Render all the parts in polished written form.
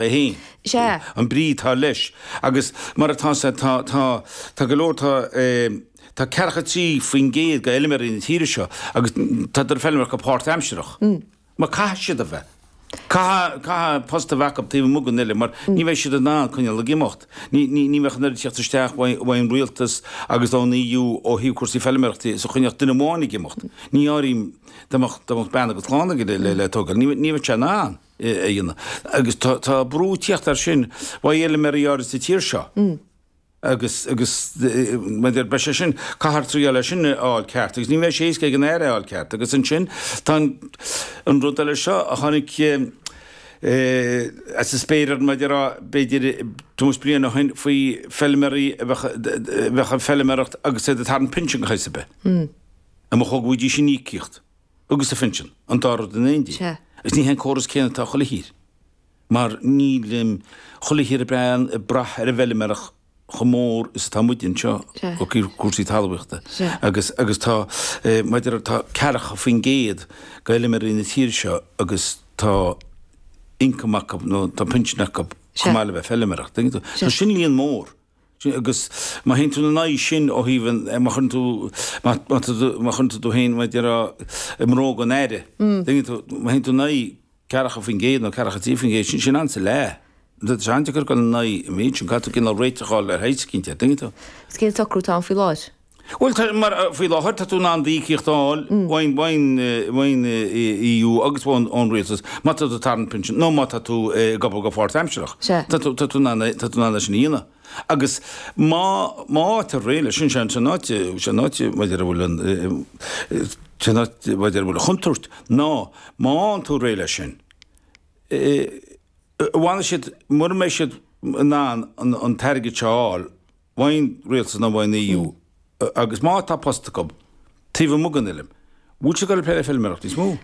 É féin. Sea. An brí atá leis. Agus mar atá sé, tá, tá, tá go leor, tá, tá ceathracha 3% de fheilméaraí na tíre seo agus tádar ag feilméaracht go páirtaimsearach. Mar caithfidh siad a bheith. Caithfidh, caithfidh post a bheith acu taobh amuigh den fheilm mar ní bheidh siad in ann coinneáil ag imeacht. Ní, ní, ní bheadh an oiread teacht isteach uaidh, uaidh an rialtas agus ón EU ó thaobh cúrsaí feilméarachta is a choinneodh duine amháin ag imeacht. Ní áirím dá mbeadh, dá mbeadh bean agus clann aige le, le, le tógáil. Ní, ní bheadh sé in ann. a dhéanamh. Agus tá brú ag tíocht air sin uaidh fheilméaraí áirid sa tír seo. Agus, agus, maidir, beidh sé sin, caithfear triáil é sin a fháil ceart agus ní bheidh sé éasca ag an Aire é a fháil ceart. Agus ansin tá an, an rud eile seo a tháinig as an spéir ar maidir a, b'fhéidir tomhas bliain ó shin faoi feilméaraí a bheadh, a bheadh ag feilméaracht agus iad ag tarraingt pinsean de shaghas ar bith. An mba chóir go bhfaighidís an íocaíocht? agus an phinsean, an dá rud in éindí. Sea. Agus ní hé an córas céanna atá chuile thír. Mar níl chuile thír ag brath ar an bhfeilméaracht chomh mór is atá muide anseo Sea. ó thaobh cúrsaí talmhaíochta. Sea. Agus, agus tá, maidir, tá ceathracha faoin gcéad de fheilméaraí na tíre seo agus tá income acu nó tá pinsean acu Sea. chomh maith le bheith ag feilméaracht. Tuigeann tú? Sea. Tá sin líon mór. Agus má théann tú ina aghaidh sin ó thaobh an, má chuireann tú, má tá tú, má chuireann tú tú féin, mar a déarfá, i mbróga an Aire, tuigeann tú, má théann tú in aghaidh 40% nó 43%, sin, sin an-sa leath. Tá sé an-deacair dul in aghaidh an méid sin, caithfidh tú cineál réiteach a fháil ar shaghas eicínt air, tuigeann tú. Is cén socrú atá ann faoi láthair? Bhuel, tá, mar, faoi láthair, tá tú in ann d'íocaíocht a fháil ón, ón, ón EU agus ón, ón rialtas má tá tú ag tarraingt pinsean nó má tá tú ag obair go pháirtaimsearach. Sea. Tá tú, tá tú in ann, tá tú in ann é sin a dhéanamh. Agus má, má fhaightear réidh leis sin, sé an áit, sé an áit maidir a bhfuil an, sé an áit maidir a bhfuil an chontúirt ná má fhaigheann tú réidh leis sin, bhfanfaidh siad, mura mbeidh siad in ann an t-airgead seo a fháil, ón rialtas nó ón EU, agus má tá post acu taobh amuigh den fheilm, bhfuil siad ag dul ag plé le feilméaracht níos mó?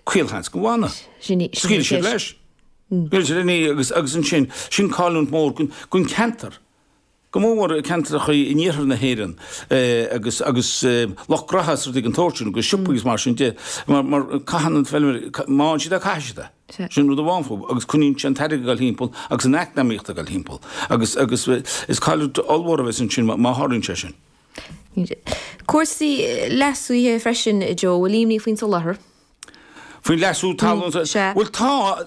Caolsheans go bhfanfaidh. Scaoilfidh siad leis. Scaoilfidh siad leis agus agus ansin, sin cailliúint mhór don cheantar. Go mór mór ceantracha in iarthar na hÉireann agus agus lucht gnaithe is rudaí den tsórt sin agus siopaí agus mar sin de mar mar caitheann an feilméara, má fhaigheann siad é caithfidh siad é. Sin rud amháin fúthu agus coinníonn sé an t-airgead ag dul thimpeall agus an eacnamaíocht ag dul thimpeall agus agus is cailliúint ollmhór a bheas ansin má tharlaíonn sé sin. Cúrsaí leasaithe freisin, Joe, bhfuil imní faoin soláthar? Faoin leasú talún? Sea. Bhuel tá,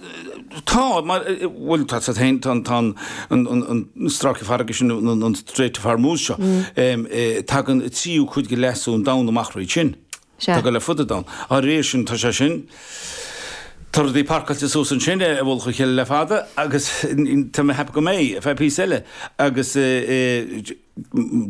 tá, mar, bhuel tá tá féin, tá tá an an an stráice farraige sin, an Strait of Hormuz seo, tagann an tríú cuid de leasú an domhain amach thríd sin. Sea. Tá go le fud an domhain. Dá réir sin, tá sé sin, tá rudaí parcáilte suas ansin i bhfolach a chéile le fada agus tá mé ag ceapadh go mbeidh, ar feadh píosa eile. Agus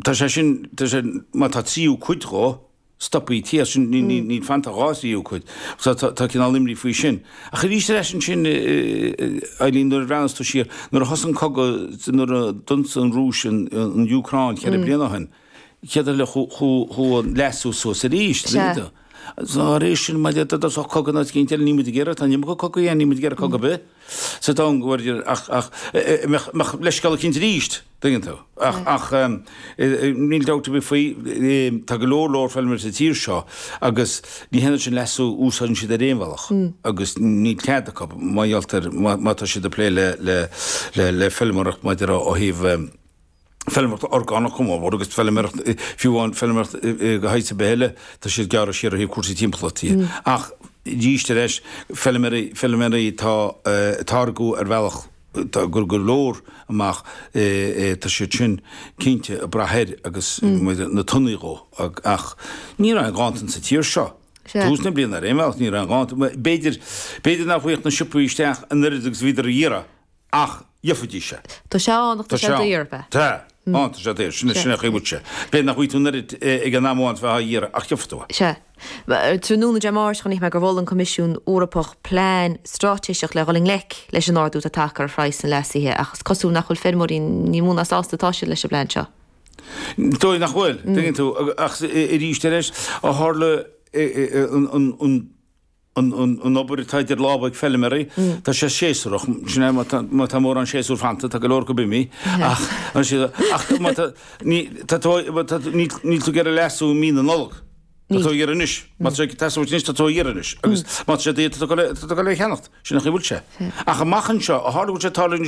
tá sé sin, tá sé, má tá tríú cuid dhó, stoptha tíos, sin, níl fanta ach dhá thríú cuid. So tá, tá cineál imní faoi sin. Ach arís ar ais ansin, Eileen, nuair a bhreathnas tú siar, nuair a thosaigh an cogadh, nuair a d'ionsaigh an Rúis an Úcráin cheithre bliana ó shin, Chéad eile chuaigh an leasú suas arís. Sea. Dá réir sin, má d'fhéadfadh cogadh in áit eicínt eile, níl muid ag iarraidh, tá an iomarca cogaí ann, níl muid ag iarraidh cogadh ar bith sa domhan go bhfuil, ach, ach, mbeadh, mbeadh leithscéal eicínt arís, tuigeann tú. Ach, ach, níl dabht ar bith faoi, tá go leor leor feilméaraí sa tír seo agus ní hionann sin leasú, úsáideann siad ar aon bhealach agus níl cead acu má ghealltar, má tá siad ag plé le, le, le, le feilméaracht maidir ó thaobh, feilméaracht orgánach go mór mór agus feilméaracht, fiú amháin feilméaracht de shaghas ar bith eile, tá siad gearrtha siar ó thaobh cúrsaí timpeallachta de. Ach arís ar ais, feilméaraí, feilméaraí atá ag táirgeadh ar bhealach atá ag cur go leor amach, tá siad sin cinnte ag brath air agus na tonnaí dhó. Ach ní raibh aon ghanntan sa tír seo. Tús na bliana ar aon bhealach, ní raibh aon ghanntan. B'fhéidir, b'fhéidir nach bhfaigheadh na siopaí isteach an oiread agus a bhíodar a iarraidh Ach gheofaidís é. Tá sé ann ach tá sé daor, ab ea? Tá. Ann, tá sé daor. Sin sin an chaoi a bhfuil sé. B'fhéidir nach bhfaighidh tú an oiread ag an am amháin is a bheifeá á iarraidh, ach gheofaidh tú é. Sea. Tráthnóna Dé Máirt chonaic mé gur mhol an Coimisiún Eorpach plean straitéiseach le dhul i ngleic leis an ardú atá tagtha ar phraghas an leasaithe ach is cosúil nach bhfuil feirmeoirí ní mó ná sásta atá siad leis an bplean seo. Dóigh nach bhfuil, tuigeann tú. Ach arís ar ais, ó tharla an an obair atá idir lámha ag feilméaraí, tá sé séasúrach, sin é, má tá mórán séasúr fanta, tá go leor acu imithe, ach, ach má tá, ní, tá tú, níl tú ag iarraidh leasú i mí na Nollag. Tá tú á iarraidh anois. Má tá sé ag teastáil uait anois, tá tú á iarraidh anois. Agus má tá sé daor, tá tú ag dul é a cheannacht. Sin an chaoi a bhfuil sé. Ach amach anseo, ó tharla go bhfuil sé ag tarlú anois.